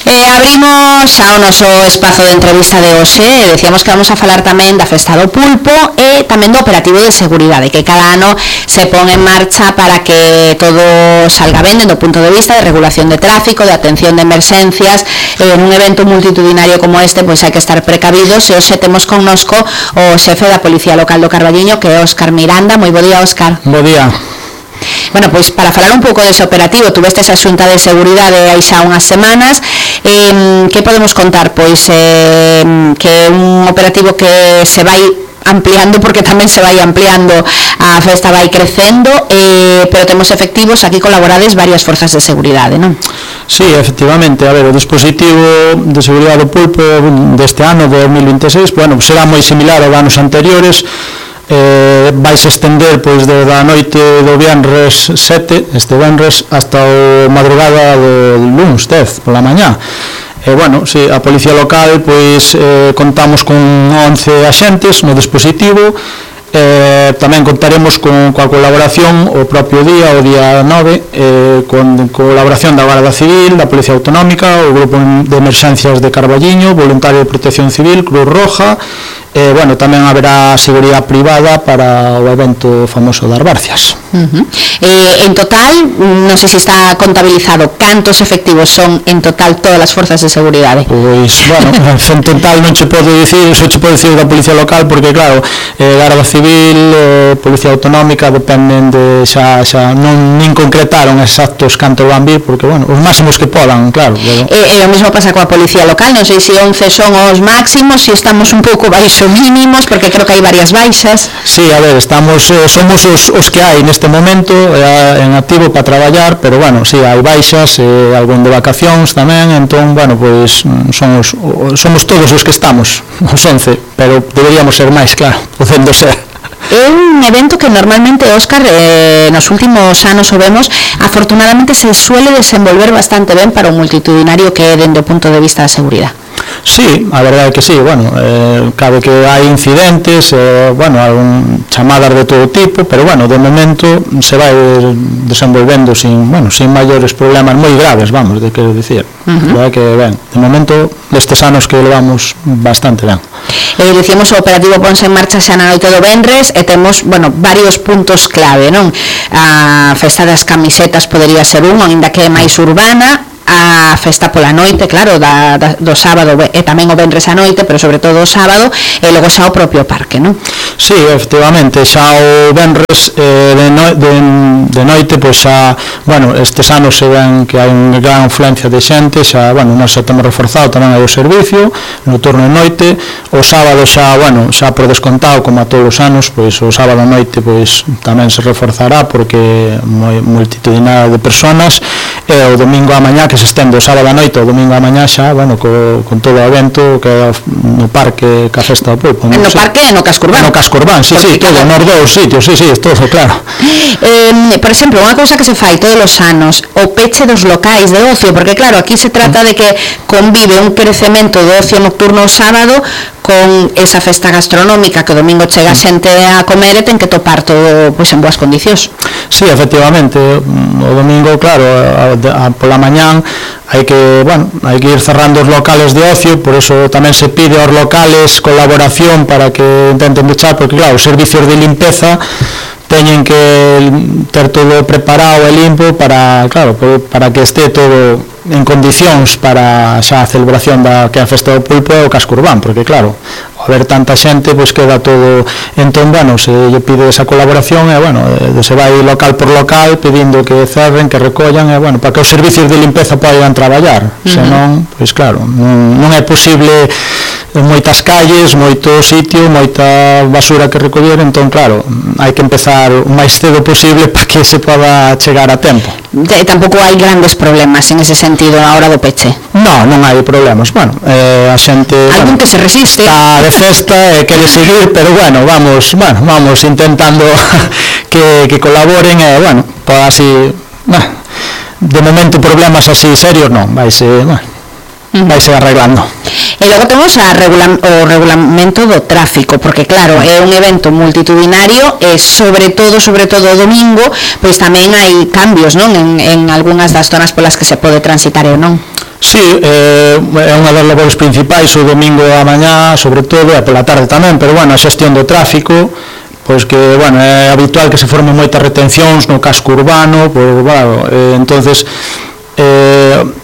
Abrimos ao noso espazo de entrevista de hoxe. Decíamos que vamos a falar tamén da Festa do Pulpo e tamén do operativo de seguridade que cada ano se pon en marcha para que todo salga ben dentro do punto de vista de regulación de tráfico, de atención de emerxencias. En un evento multitudinario como este, pois hai que estar precavidos, e hoxe temos connosco o xefe da Policía Local do Carballiño, que é Óscar Miranda. Moi bo día, Óscar. Bo día. Bueno, pois para falar un pouco dese operativo, tuveste esa xunta de seguridade hai xa unhas semanas. Que podemos contar? Pois que é un operativo que se vai ampliando, porque tamén se vai ampliando, a festa vai crecendo, pero temos efectivos, aquí colaborades varias forzas de seguridade, non? Sí, efectivamente, a ver, o dispositivo de seguridade do Pulpo deste ano, de 2026, bueno, será moi similar aos anos anteriores. Vais estender pois da noite do viernes 7, este viernes, hasta o madrugada do lunes 10 pola mañá. Bueno, sí, a Policía Local pois contamos con 11 axentes no dispositivo. Tamén contaremos coa colaboración o propio día, o día 9, con colaboración da Garda Civil, da Policía Autonómica, o Grupo de Emerxencias de Carballiño, Voluntario de Protección Civil, Cruz Roja. Bueno, tamén haberá seguridade privada para o evento famoso das Barcias. En total, non sei se está contabilizado cantos efectivos son en total todas as forzas de seguridade. Pois, bueno, en total non che podo dicir, só che podo dicir da Policía Local, porque claro, Garda Civil, Policía Autonómica dependen de xa non nin concretaron exactos cantos van vir, porque bueno, os máximos que podan, claro. E o mesmo pasa coa Policía Local, non sei se 11 son os máximos, se estamos un pouco baixo mínimos, porque creo que hai varias baixas. Sí, a ver, somos os que hai neste momento en activo para traballar, pero bueno, sí, hai baixas, algún de vacacións tamén, entón, bueno, pois somos todos os que estamos, os 11, pero deberíamos ser máis, claro, podendo ser. É un evento que normalmente, Óscar, nos últimos anos o vemos, afortunadamente se suele desenvolver bastante ben para o multitudinario que é dende o punto de vista da seguridade. Sí, a verdade é que sí, bueno, cabe que hai incidentes, bueno, chamadas de todo tipo, pero bueno, de momento se vai desenvolvendo sin maiores problemas moi graves, vamos, de quero dicir. Verdade que, ben, de momento, destes anos que levamos bastante ben. Dicíamos o operativo ponse en marcha xa na noite do venres e temos, bueno, varios puntos clave, non? A festa das camisetas podería ser un, ainda que é máis urbana. A festa pola noite, claro, do sábado e tamén o venres a noite, pero sobre todo o sábado, e logo xa o propio parque, non? Sí, efectivamente, xa o venres de noite, pois xa, bueno, estes anos se ven que hai unha gran afluencia de xente, xa, bueno, nós xa temos reforzado tamén aí o servicio no turno de noite. O sábado xa, bueno, xa por descontado, como a todos os anos, pois o sábado a noite pois tamén se reforzará, porque moi multitudinaria de personas, e o domingo a mañá, que se estende o sábado a noite, o domingo a mañá xa, bueno, con todo o evento que é no parque, ca Festa do Pulpo. No parque e no casco urbano. No casco urbano, sí, todo, nos dous sitios, sí, todo, claro. Por exemplo, unha cousa que se fai todos os anos, o peche dos locais de ocio, porque claro, aquí se trata de que convive un crecemento do ocio nocturno o sábado con esa festa gastronómica que o domingo chega xente a comer e ten que topar todo pois en boas condicións. Sí, efectivamente, o domingo, claro, pola mañán hai que ir cerrando os locales de ocio, por eso tamén se pide aos locales colaboración para que intenten luchar, porque claro, os servicios de limpeza teñen que ter todo preparado e limpo para que este todo en condicións para xa a celebración da que é a Festa do Pulpo e o casco urbano, porque claro, ao haber tanta xente, pois queda todo, entón, bueno, se lle pide esa colaboración, e bueno, se vai local por local pedindo que cerren, que recollan, e bueno, para que os servicios de limpeza podan traballar, senón, pois claro, non é posible moitas calles, moito sitio, moita basura que recoller, entón, claro, hai que empezar o máis cedo posible para que se poda chegar a tempo. E tampouco hai grandes problemas en ese sentido na hora do peche? Non hai problemas, bueno, a xente... Algún que se resiste? Está de festa e quere seguir, pero bueno, vamos intentando que colaboren e, bueno, pues así, de momento problemas así serios non, vaise arreglando. E logo temos o regulamento do tráfico, porque claro, é un evento multitudinario e sobre todo o domingo, pois tamén hai cambios, non, en algunhas das zonas polas que se pode transitar ou non. Sí, é unha das labores principais o domingo a mañá, sobre todo, e pola tarde tamén, pero, bueno, a xestión do tráfico, pois que, bueno, é habitual que se formen moitas retencións no casco urbano, pois, bueno, entonces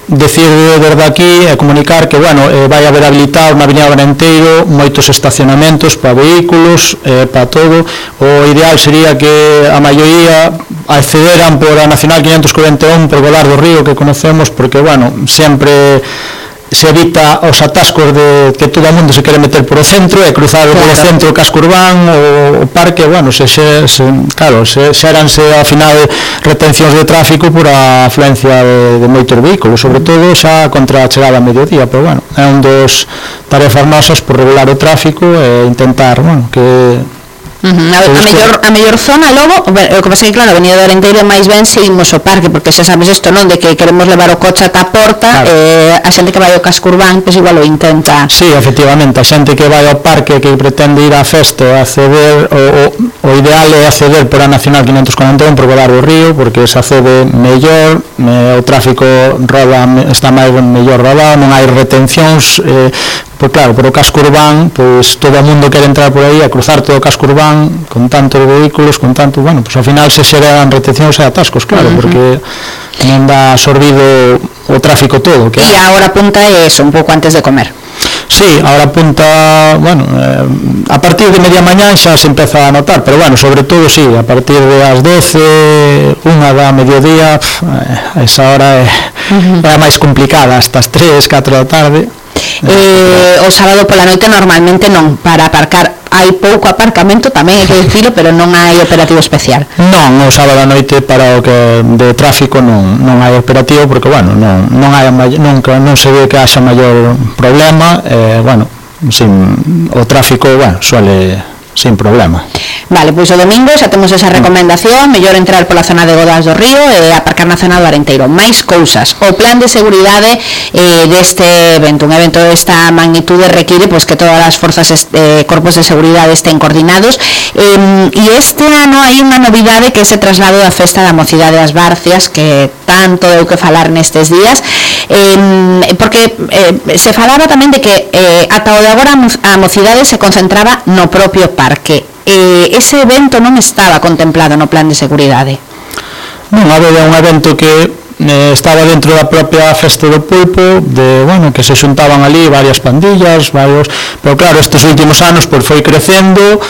decir desde aquí e comunicar que, bueno, vai haber habilitado na Avenida Arenteiro moitos estacionamentos para vehículos, para todo. O ideal sería que a maioría accederan por a Nacional 541 por Godar do Río, que conocemos, porque, bueno, sempre se evita os atascos de que todo o mundo se quere meter por o centro e cruzar por o centro o casco urbán, o parque, bueno, claro, xeranse ao final retencións de tráfico por a afluencia de moitos vehículos, sobre todo xa contra a chegada a mediodía, pero, bueno, é un dos tarefas nosas por regular o tráfico e intentar, bueno, que a mellor zona logo, o que pasa que, claro, a Avenida do Arenteiro máis ben seguimos o parque, porque xa sabes isto, non, de que queremos levar o coche ata a porta, claro. A xente que vai ao casco urbán, pois igual o intenta. Sí, efectivamente, a xente que vai ao parque, que pretende ir á festa, acceder, o ideal é acceder por a Nacional 541 por Godar do Río, porque se accede mellor, o tráfico está máis mellor rodado, non hai retencións, pois claro, por o casco urbán, pois todo o mundo quere entrar por aí a cruzar todo o casco urbán con tantos vehículos, con tanto, bueno, pois ao final se xeran retencións e atascos, claro, porque non dá absorbido o tráfico todo. E a hora punta é eso, un pouco antes de comer. Sí, a hora punta, bueno, a partir de media mañá xa se empeza a notar, pero, bueno, sobre todo, sí, a partir de as 12, unha da mediodía, esa hora é a máis complicada, hasta as 3, 4 da tarde. O sábado pola noite normalmente non, para aparcar hai pouco aparcamento, tamén hai que dicilo, pero non hai operativo especial. Non, o sábado a noite para o que de tráfico non hai operativo, porque, bueno, non se ve que haxa maior problema, bueno, o tráfico, bueno, suele sin problema. Vale, pois o domingo xa temos esa recomendación, mellor entrar pola zona de Godás do Río e aparcar na zona do Arenteiro. Mais cousas, o plan de seguridade deste evento, un evento desta magnitude require pois que todas as forzas corpos de seguridade estén coordinados, e este ano hai unha novidade que é ese traslado da festa da mocidade das Barcias, que tanto deu que falar nestes días, porque se falaba tamén de que ata o de agora a mocidade se concentraba no propio parque. Ese evento non estaba contemplado no plan de seguridade. Non, había un evento que estaba dentro da propia festa do pulpo, de, bueno, que se xuntaban ali varias pandillas, pero, claro, estes últimos anos pois foi crecendo,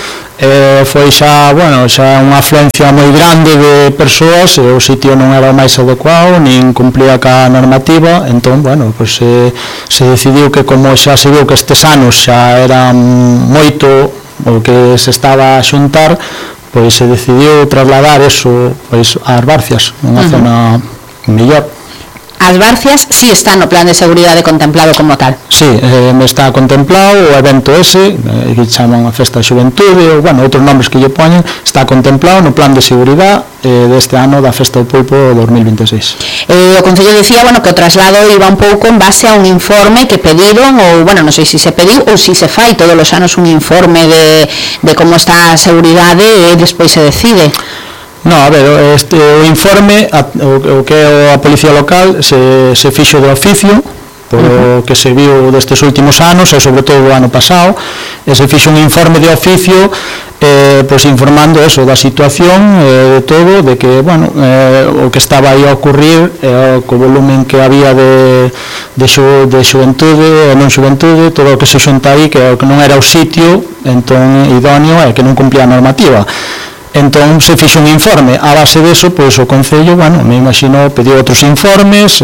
foi xa, bueno, xa unha afluencia moi grande de persoas, e o sitio non era o máis adecuado, nin cumplía ca normativa, entón, bueno, pois se decidiu que, como xa se viu que estes anos xa era moito o que se estaba a xuntar, pois se decidiu trasladar eso pois ás Barcias, unha zona mellor. As Barcias si están no plan de seguridade contemplado como tal. Sí, está contemplado o evento ese, que chaman a Festa da Xuventude, ou, bueno, outros nomes que lle poñen, está contemplado no plan de seguridade deste ano da Festa do Pulpo 2026. O Concello dicía, bueno, que o traslado iba un pouco en base a un informe que pediron, ou, bueno, non sei se pediu ou se fai todos os anos un informe de como está a seguridade e despois se decide. No, a ver, o informe, o que é a Policía Local, se fixo de oficio, polo que se viu destes últimos anos, e sobre todo o ano pasado, e se fixo un informe de oficio, pois informando eso, da situación, de todo, de que, bueno, o que estaba aí a ocurrir, co volumen que había de xuventude e non xuventude, todo o que se xunta aí, que non era o sitio entón idóneo e que non cumplía a normativa. Entón se fixo un informe, a base deso, pois o Concello, bueno, me imagino, pediu outros informes,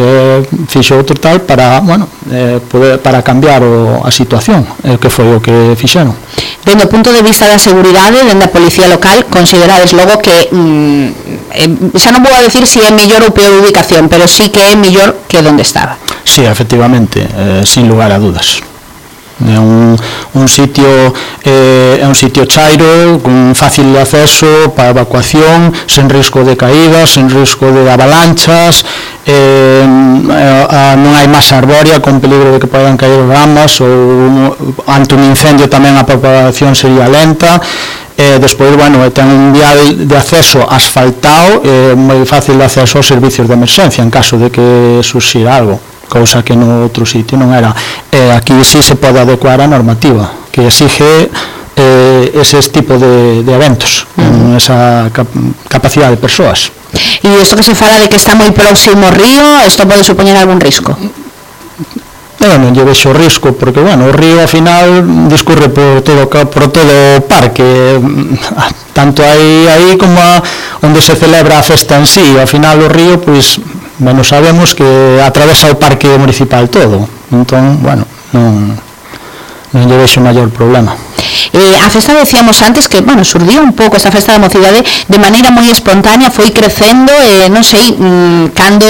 fixo outro tal para, bueno, para cambiar a situación, que foi o que fixeron. Dende o punto de vista da seguridade, dende a Policía Local, considerades logo que, xa non vou a decir se é mellor ou peor ubicación, pero sí que é mellor que onde estaba. Sí, efectivamente, sin lugar a dudas. É un sitio chairo, con fácil acceso para evacuación, sen risco de caídas, sen risco de avalanchas, non hai masa arbórea con peligro de que podan caer ramas, ou ante un incendio tamén a propagación sería lenta. Despois, bueno, ten un vial de acceso asfaltado, moi fácil de acceso aos servicios de emerxencia en caso de que surxir algo. cousa que no outro sitio non era. Aquí sí se pode adecuar a normativa que exige eses tipos de eventos con esa capacidade de persoas. E isto que se fala de que está moi próximo ao río, isto pode supoñer algún risco? Non lle vexo risco, porque, bueno, o río, ao final, discurre por todo o parque, tanto aí como onde se celebra a festa en sí. Ao final, o río, pois, bueno, sabemos que atravesa o parque municipal todo. Entón, bueno, non lle vexo maior problema. A festa, decíamos antes que, bueno, surdiu un pouco esta festa da mocidade de maneira moi espontánea, foi crecendo, non sei cando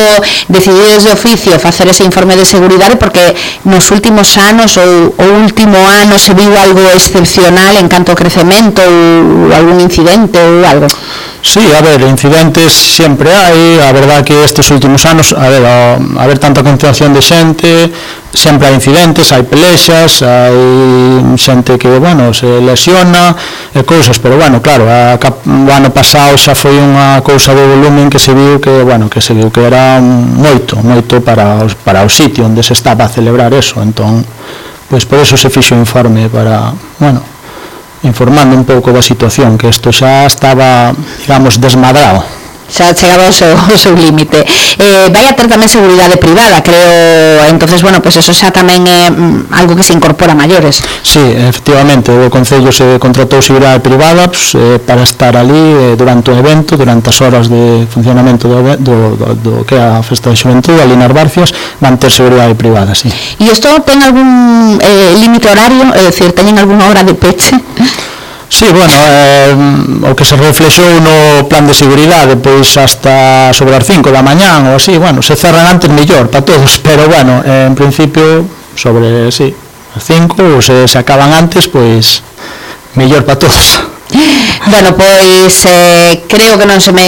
decidides de oficio facer ese informe de seguridade, porque nos últimos anos ou o último ano se viu algo excepcional en canto ao crecemento ou algún incidente ou algo. Sí, a ver, incidentes sempre hai, a verdad que estes últimos anos, a ver tanta concentración de xente, sempre hai incidentes, hai pelexas, hai xente que, bueno, se lesiona e cousas, pero, bueno, claro, o ano pasado xa foi unha cousa de volumen que se viu que, bueno, que era moito para o sitio onde se estaba a celebrar eso, entón, pois por eso se fixo o informe para, bueno, informando un pouco da situación, que isto xa estaba, digamos, desmadrado. Xa chegaba ao seu límite. Vai a ter tamén seguridade privada, creo, entonces, bueno, pues eso xa tamén é algo que se incorpora a maiores. Sí, efectivamente, o Concello se contratou seguridade privada para estar ali durante o evento, durante as horas de funcionamento do que é a Festa da Xuventude, ali nas Barcias, van ter seguridade privada, sí. E isto ten algún límite horario, é dicir, teñen algunha hora de peche? Sí, bueno, o que se reflexou no plan de seguridade, pois hasta sobre as 5 da mañán ou así, bueno, se cerran antes mellor para todos, pero bueno, en principio sobre, sí, as 5 ou se acaban antes, pois mellor para todos. Bueno, pois creo que non se me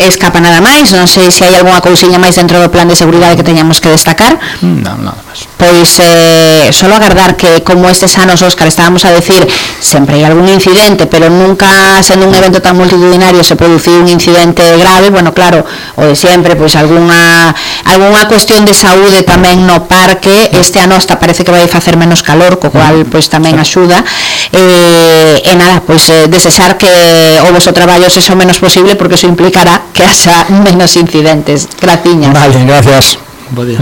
escapa nada máis, non sei se hai algunha cousiña máis dentro do plan de seguridade que teñamos que destacar. Non, nada máis. Pois solo agardar que, como estes anos, Óscar, estábamos a decir, sempre hai algún incidente, pero nunca, sendo un evento tan multitudinario, se produciu un incidente grave. Bueno, claro, o de sempre, pois algunha cuestión de saúde tamén no parque. Este ano hasta parece que vai facer menos calor, co cual pois tamén axuda, e nada, pois desexar que o voso traballo sexa o menos posible, porque eso implicará que haxa menos incidentes. Graciñas. Vale, gracias. Bo día.